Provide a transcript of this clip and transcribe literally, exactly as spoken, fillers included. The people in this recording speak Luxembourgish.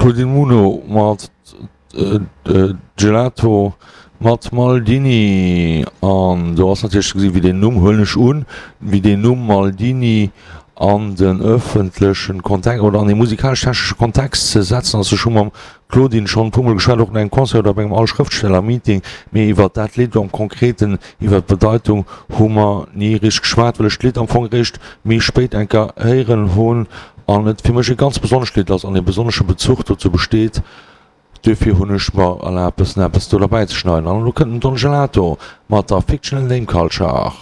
Claudine Muno mat Gelato mat Maldini. An do ass natierlech ze gesi wéi deen Numm, huelen ech un, wéi deen Numm Maldini an den ëffentlechen Kontext oder an ee musikalesch-technesche Kontext ze setzen ass. Ech hu mam Claudine schonn e puermol geschwat, och no engem Concert oder op engem Al-Schrëftsteller-Meeting, mee iwwer dat Lidd am Konkreten, iwwer d'Bedeitung hu mer ni richteg geschwat, well ech d'Lidd am Fong eréischt méi spéit eng Kéier héieren hunn an et fir mech e ganz besonnescht Lidd ass an e besonnesche Bezuch dozou besteet. Duerfir hunn ech mer erlaabt, bëssen eppes do derbäi ze schneiden. An elo kënnt den Don Gelato mat der Fictional Name Culture.